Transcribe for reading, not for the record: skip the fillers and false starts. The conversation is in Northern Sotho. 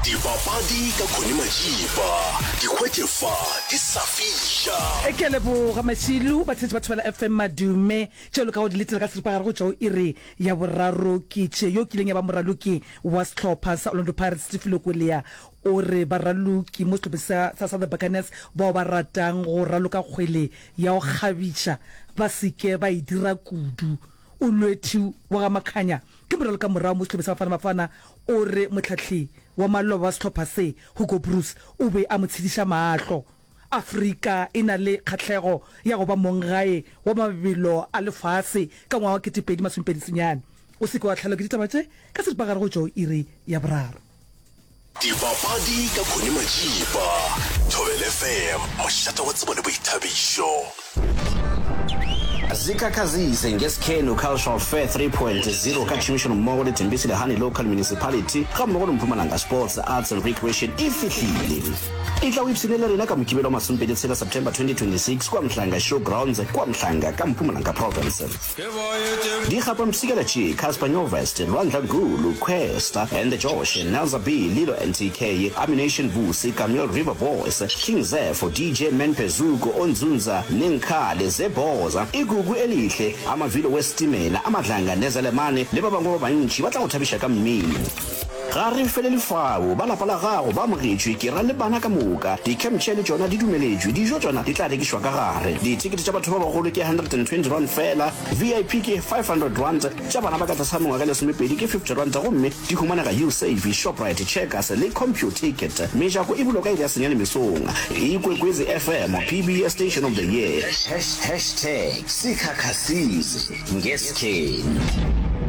Dipapadi ka Connie Majiba, di hwetše fa di sa fiša. Ke a leboga Mašilu, batheetši ba Thobela FM Madume. Tšeo le kago di letela ka seripagare go tšwa go iri ya boraro ke tše. Yo kileng ya ba moraloki wa sehlopha sa Orlando Pirates Steve Lekoelea o re baraloki mo sehlopheng sa sa sa The Buccaneers bao ba ratang go raloka kgwele ya go kgabiša ba se ke ba e dira kudu. Olwethu wa ga Makhanya ke moralokamorago mo sehlopheng sa Bafana Bafana o re mohlahli wa maloba wa sehlopha se, Hugo Broos, o be a mo tshediša mahlo. Afrika e na le kgahlego ya go ba monggae wa mabelo a lefase ka ngwaga wa 2029. O se ke wa hlaelwa ke ditaba tše ka seripagare go tšwa go iri ya boraro. Dipapadi ka Connie Majiba, Thobela FM, mošate wa tsebo le boithabišo. Zikhakhazise ngeSkhenu Cultural Fair 3.0 ka tšhomišanommogo le Thembisile Hani Local Municipality gammogo le Mpumalanga Sports, Arts and Recreation e fihlile. Etla o ipshine le rena ka Mokibelo wa masomepedi tshela September 2026 kua Mhlanga Show Grounds kua Mhlanga ka Mpumalanga Province. Dikgapampshikela tše, Cassper Nyovest, Lwandla Gulu, Kwesta and the Josh, Nelza B, Lilo NTK, Ammunition Vusi, Kameel River Boys, King Zepho, DJ Menpe Zuko, Onzunza, Nenkhale, Zebhoza, Igugu Elihle, Amavilo Wesitimela, Amadlanga Nezelemane le ba bangwe ba bantši ba tla go thabiša ka mmino. Ga re felele fao, ba lapa la gago ba amogetšwe, ke ra le bana ka moka. Di-camp chair le tšona di dumeletšwe, dijo tšona di tla rekišwa ka gare. Dithekete tša batho ba bagolo ke R120 feela, VIP ke R500, tša bana ba ka tlase ga mengwaga e lesomepedi ke R50 gomme di humanega Usave, Shoprite, Checkers le Computicket. Mejako e bulwa ka iri ya senyane mesong. Ikwekwezi FM, PBS Station of the Year. Hashtag sikhakhasize ngeskhenu.